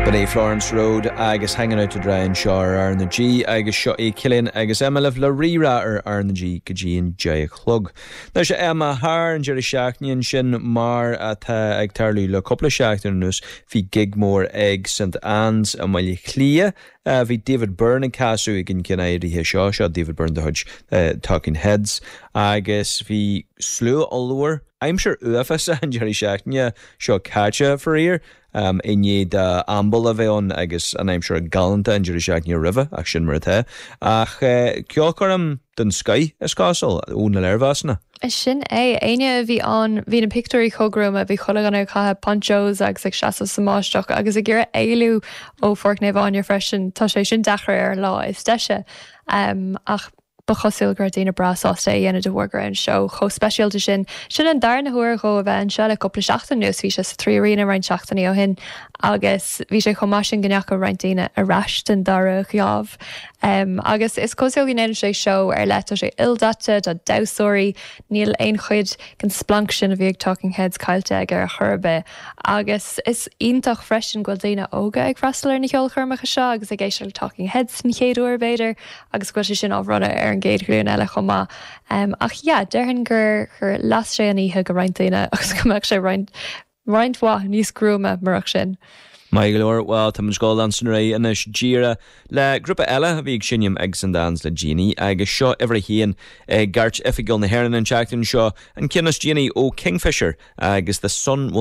B'in é Florence Road agus Hanging Out to Dry anseo ar R na G agus seo é Cillian agus Emma libh le Rí-Rá ar R na G go dtí an 10 a chlog. Anois a Emma, thar an deireadh seachtaine ansin, mar atá ag tarlú le cúpla seachtain anuas, bhí gig mór ag St Anne's i mBaile Átha Cliath. Bhí David Byrne ag casadh ag an gceann áirithe seo, seo David Byrne de chuid Talking Heads, agus bhí slua ollmhór, aimsir uafásach an deireadh seachtaine seo caite, faraor, i ndiaidh d'ambal a bheith ann agus an aimsir galánta an deireadh seachtaine roimhe, ach sin mar atá. Ach ceolchoirm den scoith, is cosúil, ó na léirmheasanna. Sin é. Éinne a bhí ann, bhí na pictiúirí chomh gruama, bhí chuile dhuine ag caitheamh ponchos agus ag seasamh sa mbáisteach agus ag iarraidh éalú ó Pháirc Naomh Áine freisin. Tá sé sin deacair ar an lá is deise. Ach ba chosúil go raibh daoine breá sásta é a dhéanamh de bharr go raibh an seó chomh speisialta sin. Sin an darna huair dhó a bheith anseo le cúpla seachtain anuas, bhí sé sa 3Arena roinnt seachtainí ó shin agus bhí sé chomh maith sin go ndeachaigh roinnt daoine ar ais den dara geábh. Agus is cosúil go ndéanann sé seó ar leith, tá sé ildaite, tá damhsóirí, níl aon chuid den splanc sin a bhí ag Talking Heads caillte aige ar chor ar bith. Agus is iontach freisin go bhfuil daoine óga ag freastal ar na ceolchoirmeacha seo agus ag éisteacht le Talking Heads den chéad uair, b'fhéidir, agus go bhfuil sé sin á bhronnadh ar an gcéad ghlúin eile chomh maith. Ach yeah, déarfainn gur gur las sé an oíche go roinnt daoine agus go mbeadh sé roinnt roinnt mhaith níos gruama murach sin. Maith go leor, bhuel tá muid ag dul leanstan ar aghaidh anois díreach le grúpa eile a bhí ag seinm ag St Anne's le déanaí agus seo uimhir a haon i gcairt oifigiúil na hÉireann an tseachtain seo, an ceann is déanaí ó Kingfisher agus The Sun Will.